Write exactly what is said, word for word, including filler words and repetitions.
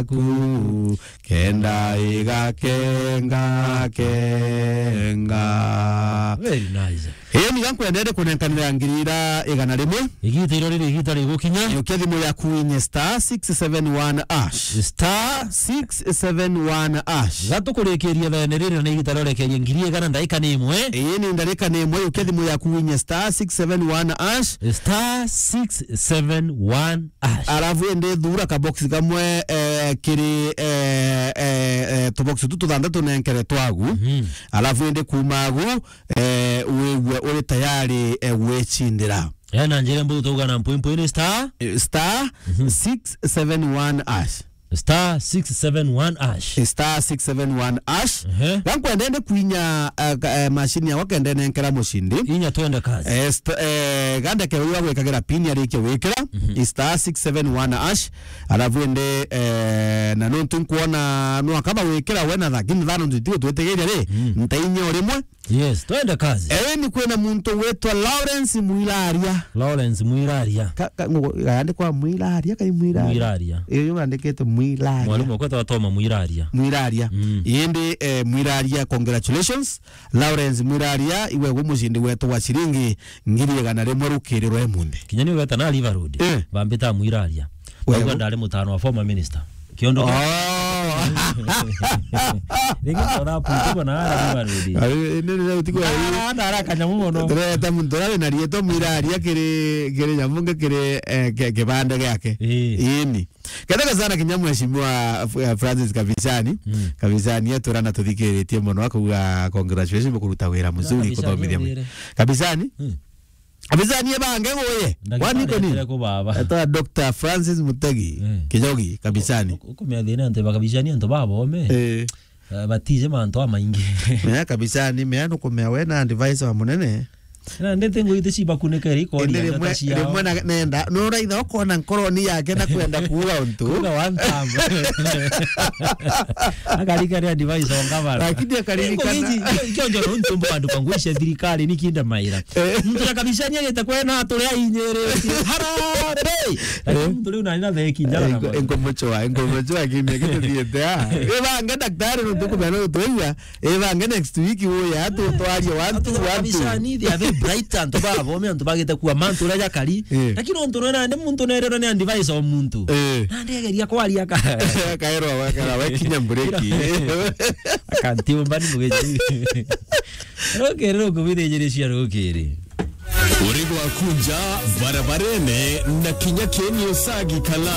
yaku, kenda igakenga, kenga. Very nice. Ii, ni gankwendete kunenkanira ngiri ira igana rimwe. Igita iro riri igita rigukinya. Yukia thimu yaku inye star six seven one hash. Star six seven one hash. Gatukurikiria thene riri na igita rorekerie ngiri igana ndaika ni imwe. Ii, ni ndaika ni imwe, yukia thimu yaku inye star six seven one hash. Star six seven one hash. Alafu indi thura ka box kamwe, eh, kiri, eh, eh, eh, tubox tu tuthanthatu nenkere twagu. Mhm. Alafu indi kuma agu, eh, wigue uri tayari, eh, gwicindira. Eh, na njira mbuu tuga na mpwi mpwi ni star? Eh, star Mhm. six seven one hash. Star six seven one hash. Star six seven one hash. Ehe. Gankwenda ndi kwinya, eh, ka-, eh, machine yakwa kenda nenkera mucindi. Inya twende kazi. Eh, st-, eh, gandeke uyu agwikagira pin arikie wikira. Mhm. Star six seven one hash. Alafu indi, eh, na nontu nkwona no akaba wikira we na thakini thano ntitio twitigiria ri, Mm. ntainya urimwe. Yes, twende kazi. Eni kwina muntu witwa Lawrence Mwiraria. Lawrence Mwiraria. Ka, ka, ngo-, yandikwa Mwiraria, kai Mwiraria? Mwiraria. Iyo yandikite Mwiraria. Mwalimu wakwa twatoma Mwiraria. Mwiraria. Mm. Indi, eh, Mwiraria, congratulations. Lawrence Mwiraria, iwe gu mucindi wetu wa ciringi ngiri igana rimwe rukiri rwa emunthi. Kinya ni weta na River Road. Eh. Bambita Mwiraria. Wewe. Ndauga ndari mutano wa former minister. Kiondo kia Oh. Ringi tora putu bona ara River Road. Ari, indi ni utuku wa Ah, ndara kanyamu mono. Tureta muntu ura wina rietwa Mwiraria kiri, kiri nyamunge kiri, eh, ki-, kibande giake. Ii. Ini. Ketheka sana kinya mheshimiwa F-, eh, Francis Kabicani. Mm. Kabicani etura na tuthikiritie mono akauga congratulations kuruta wira muzuri Kabicani kuthomithia mwi-, uthire. Kabicani? Mm. Kabicani ebange guye. Ndagitari Wani koni? Etere ku baba. Eta Doctor Francis Mutegi. Mm. Kijogi, Kabicani. Uku-, uku-, ukumea thina antu ba Kabicani antu ba bome. Eh. Eh, batije mantu amaingi. Mea Kabicani, mea nukumea we na advisor wa munene. Na ndete ngui iti cibakunike ri kori Indi ya rimwe, rimwe na, nenda, no raitha ukona nkoroni yake na kwenda kuuga untu. Kuuga one time. Akarikania advice o ngavana. Lakini akaririkana. Ingo giji, kio, kio njoro ntumbo andu kwa ngui cia thirikari ni kinda maira. Eh. Muntu ya Kabicani agite kwena aturi ainyirite. Harambee! Lakini Eh. muntu riu nani na theki njara na Ingo-, mwana. Ingo muchwa, ingo muchwa kimya kituthiete, ah. Ibange daktari nuntu kumena utwigua. Ibange next week uya tu twarie one two one two. Kabisa ni they are very bright antu ba bome antu bagite kuwa mantu uria jakari. Eh. Lakini untu nona ndi muntu nerero ni advice o muntu. Eh. Na ndegeria kwaria ka. Kaero wakara we kinya mbureki. Akanti umbani mugeji. Rukiri rukubithijiria rukiri. Uri gwakunja barabarene na kinya kieni usagi kala.